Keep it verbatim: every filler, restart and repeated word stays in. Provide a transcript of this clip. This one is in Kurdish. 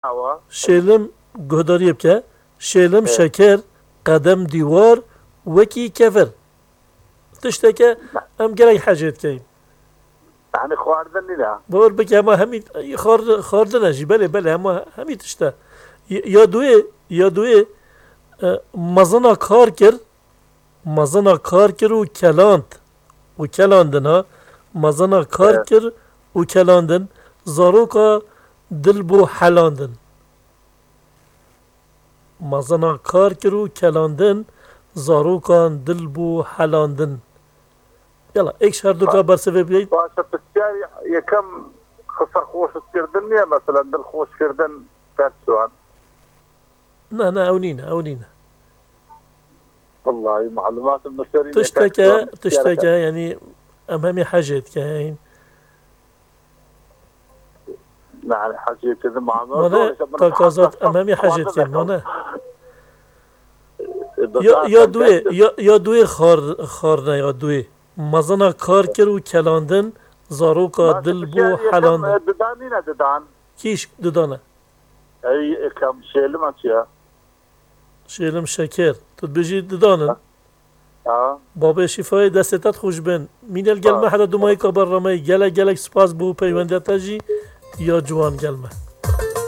Awa. Şêlim guhdariyê bike. Şêlim şeker, qedem dîwar, wekî kevir. Tişteke em gelek hecê dikeyin. Yanî xwarin nîne. Bor bike hema hemî xwar-, xwarin e jî. Belê, belê, hema hemî tişt e. Y-, ya duê, ya duê, e, mezina kar kir, mezina kar kir û keland. Û kelandin ha. Mezina kar Evet. kir û kelandin. Zaroka dil bû helandin. Mezina kar kir û kelandin, zarokan dil bû helandin. Yala, êk ji herduka bersivê bigeyî. Baş e, pisyar yekem qisa xweşkirdin niye, mesela dilxweşkirdin, ters şu an. Ne, ne, ew nîne, ew nîne. Wallahî malumatım müşteri Tişteke, tişteke, yanî em hemî hecê dikeyin. Yani hecê kedi mano. Mane, takazat, em hemî hecê dikeyin, mane. Ya, ya duê, ya, ya duê xar-, xarne ya duê. Mezina kar kir û kelandin, zaroka dil bû helandin. Didan nîne didan. Kîş didane. Ey, ekem şêlima çi ya? Şêlim şeker. Tu dibêjî didanin. Ha. Babê Şîfayê destê te xweş bin. Mînel gelme heta dumayîka berrameyî. Gelek gelek spas bo peywendiya te jî ya ciwan gelme.